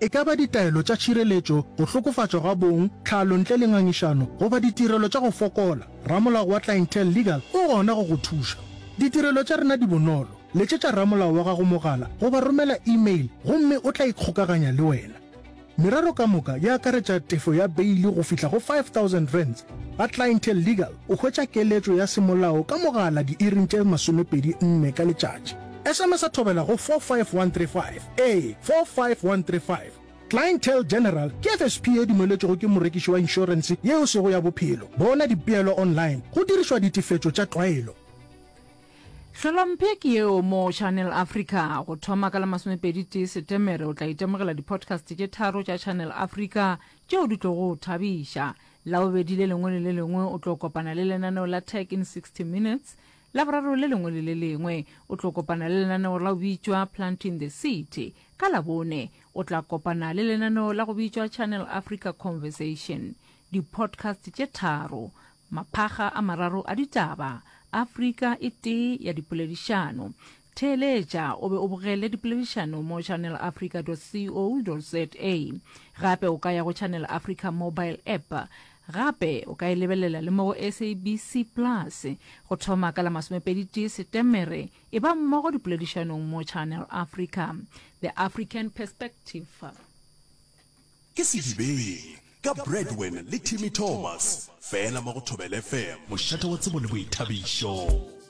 E ka ba ditaelo tša tšhireletšo, go hlokofatšwa ga bong, tlhalo ntle le ngangišano, goba ditirelo tša go fokola, ramolao wa Clientele Legal o gona go go thuša. Ditirelo tša rena di bonolo, letšetša ramolao wa gago mogala goba romela email gomme o tla ikgokaganya le wena. Merero ka moka e akaretša tefo ya beili go fihla go R5000. Ga Clientele Legal o hwetša keletšo ya semolao ka mogala diiring tše 24 ka letšatši. SMS-a thobela go 45135. Ee, 45135. Clientele General ke FSP ye dumeletšwego ke morekiši wa inšorense ye e sego ya bophelo. Bona dipeelo online go dirišwa ditefetšo tša tlwaelo. Hlolomphe ke yeo mo Channel Africa. Go thoma ka la masomepedi tee Setemere o tla itemogela di-podcast tše tharo tša Channel Africa tšeo di tlogo go thabiša. Labobedi le lengwe le le lengwe o tlo kopana le lenaneo la Tech in 60 Minutes. Laboraro le lengwe le le lengwe o tlo kopana le lenaneo la go bitšwa Planting the Seed. Ka Labone o tla kopana le lenaneo la go bitšwa Channel Africa Conversation. Di-podcast tše tharo Maphakga a mararo a ditaba, Afrika e tee ya dipoledišano. Theeletša o be o bogele dipoledišano mo channelafrica.co.za. Gape o ka ya go Channel Africa mobile app. Gape o ka e lebelela le mo go SABC Plus. Go thoma ka la masomepeditee Setemere, e ba mmogo dipoledišanong mo Channel Africa. The African Perspective. Ke Sedibeng ka Bradwin le Timmy Thomas, fela mo go Thobela FM. Mošate wa tsebo le boithabišo.